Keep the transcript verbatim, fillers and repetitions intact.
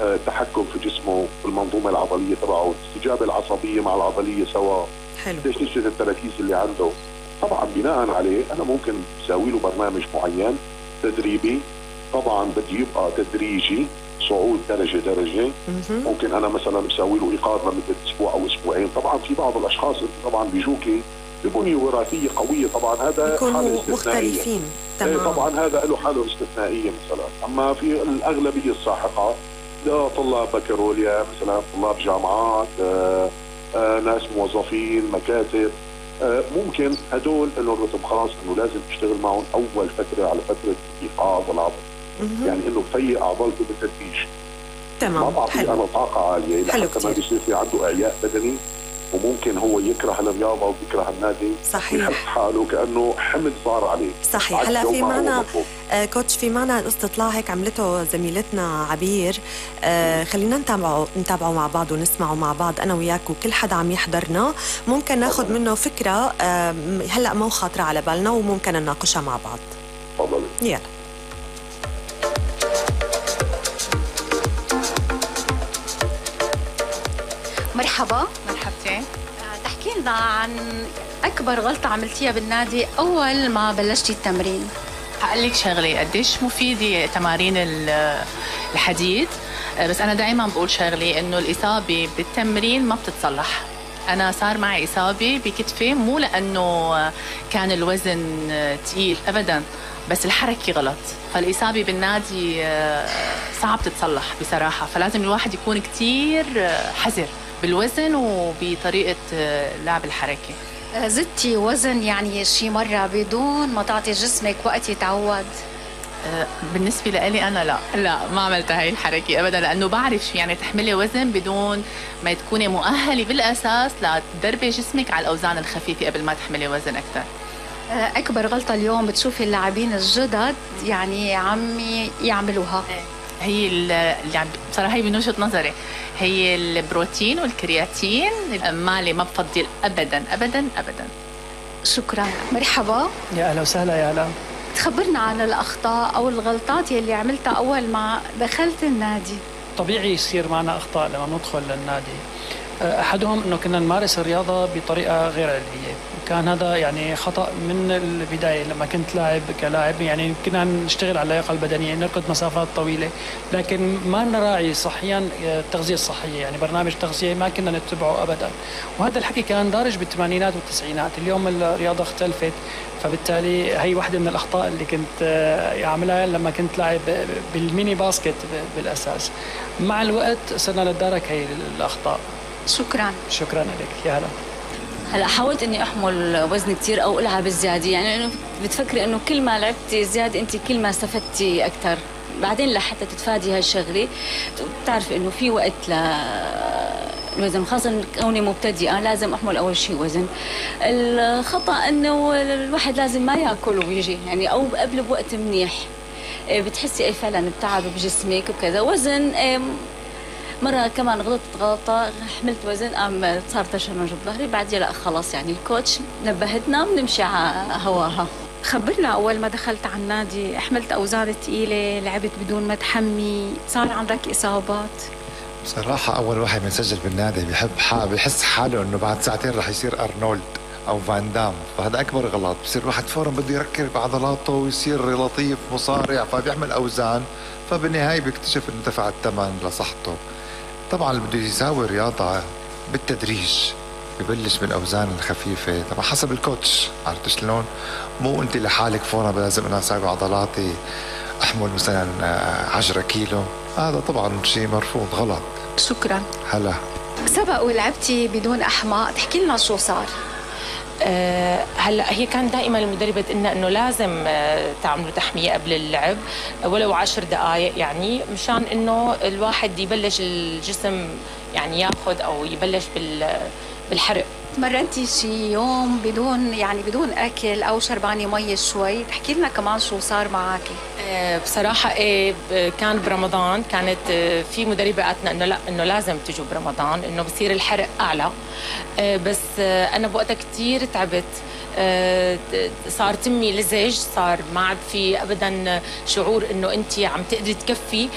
التحكم في جسمه، المنظومة العضلية تبعه، الاستجابة العصبية مع العضلية سوا، حلو، تشتت التركيز اللي عنده. طبعا بناء عليه أنا ممكن أسوي له برنامج معين تدريبي، طبعا بدي يبقى تدريجي، صعود درجة درجة. ممكن أنا مثلا أسوي له إيقاظ لمدة أسبوع أو أسبوعين. طبعا في بعض الأشخاص طبعا بيجوكي ببنية وراثية قوية، طبعا هذا حالة مختلفين. تمام. طبعا هذا له حالة استثنائية مثلا. أما في الأغلبية الساحقة لطلاب بكالوريا مثلا، طلاب جامعات، آآ آآ ناس موظفين مكاتب، ممكن هدول له الرتم خاص انه لازم تشتغل معهم اول فتره على فتره ايقاظ العضل، يعني انه تفيق عضلته بالتدريج. تمام. ما بعطيه انا طاقه عاليه لحتى ما بيصير في عنده اعياء بدني، وممكن هو يكره الرياضه ويكره النادي. صحيح. ويحس حاله كانه حمل صار عليه. صحيح. هلا في معنا آه كوتش، في معنا استطلاع هيك عملته زميلتنا عبير، آه خلينا نتابعه نتابعه مع بعض ونسمعه مع بعض انا وياك وكل حدا عم يحضرنا، ممكن ناخذ منه فكره آه هلا مو خاطره على بالنا وممكن نناقشها مع بعض. تفضلي. يلا. مرحبا. مرحبتين. تحكي لنا عن أكبر غلطة عملتيها بالنادي أول ما بلشتي التمرين. هقول لك شغلة، قديش مفيدة تمارين الحديد، بس أنا دائما بقول شغلة إنه الإصابة بالتمرين ما بتتصلح. أنا صار معي إصابة بكتفي مو لأنه كان الوزن تقيل أبدا، بس الحركة غلط. فالإصابة بالنادي صعب تتصلح بصراحة، فلازم الواحد يكون كتير حذر بالوزن وبطريقة لعب الحركة. زدتي وزن يعني شي مرة بدون ما تعطي جسمك وقت يتعود؟ بالنسبة لي أنا لا لا ما عملت هاي الحركة أبدا، لأنه بعرف شو يعني تحملي وزن بدون ما تكوني مؤهلة بالأساس لتدربي جسمك على الأوزان الخفيفة قبل ما تحملي وزن أكثر. أكبر غلطة اليوم بتشوفي اللاعبين الجدد يعني عم يعملوها؟ هي اللي بصراحة هي من وجهة نظري هي البروتين والكرياتين. مالي ما بفضل أبدا أبدا أبدا. شكرا. مرحبا. يا أهلا وسهلا. يا هلا. تخبرنا عن الأخطاء أو الغلطات اللي عملتها أول ما دخلت النادي. طبيعي يصير معنا أخطاء لما ندخل للنادي. أحدهم أنه كنا نمارس الرياضة بطريقة غير علمية، وكان هذا يعني خطأ من البداية. لما كنت لاعب كلاعب يعني كنا نشتغل على اللياقة البدنية، نركض مسافات طويلة، لكن ما نراعي صحيا التغذية الصحية، يعني برنامج تغذية ما كنا نتبعه أبدا. وهذا الحكي كان دارج بالثمانينات والتسعينات. اليوم الرياضة اختلفت، فبالتالي هي واحدة من الأخطاء اللي كنت أعملها لما كنت لاعب بالميني باسكت بالأساس. مع الوقت صرنا نتدارك هي الأخطاء. شكرا. شكرا لك. يا هلا. هلا حاولت اني احمل وزن كثير او العب زياده، يعني انه بتفكري انه كل ما لعبتي زياده انت كل ما استفدتي اكثر. بعدين لحتى تتفادي هالشغله بتعرفي انه في وقت ل الوزن، خاصة كوني مبتدئة لازم أحمل أول شيء وزن. الخطأ إنه الواحد لازم ما يأكل ويجي يعني، أو قبل بوقت منيح بتحسي أي فعلا بتعب بجسمك وكذا. وزن مرة كمان غلطت غلطة، حملت وزن قام صار تشنج بظهري، بعدين لا خلاص يعني الكوتش نبهتنا بنمشي على هواها. خبرنا أول ما دخلت على النادي، حملت أوزان ثقيلة، لعبت بدون ما تحمي، صار عندك إصابات؟ بصراحة أول واحد بينسجل بالنادي بيحب حاله، بيحس حاله إنه بعد ساعتين رح يصير أرنولد أو فان دام، فهذا أكبر غلط. بصير الواحد فورا بده يركب بعضلاته ويصير لطيف مصارع، فبيعمل أوزان، فبالنهاية بيكتشف إنه دفع الثمن لصحته. طبعا اللي بده يساوي رياضة بالتدريج ببلش بالأوزان الخفيفة، طبعا حسب الكوتش، عرفت شلون؟ مو أنت لحالك فورا لازم أنا أساوي عضلاتي أحمل مثلا عشرة كيلو، هذا طبعا شيء مرفوض غلط. شكرا. هلا. سبق ولعبتي بدون أحماء، تحكي لنا شو صار؟ أه هلا هي كان دائما المدربه تقلنا انه لازم أه تعملوا تحميه قبل اللعب ولو عشر دقائق، يعني مشان انه الواحد يبلش الجسم يعني ياخذ او يبلش بال بالحرق. تمرنتي شي يوم بدون يعني بدون اكل او شربانه مي شوي؟ تحكي لنا كمان شو صار معك. أه بصراحه ايه كان برمضان، كانت أه في مدربه قالتنا انه لا انه لازم تجوا برمضان انه بصير الحرق اعلى، أه بس أه انا بوقتها كثير تعبت، أه صار تمي لزج، صار ما عاد في ابدا شعور انه انت عم تقدري تكفي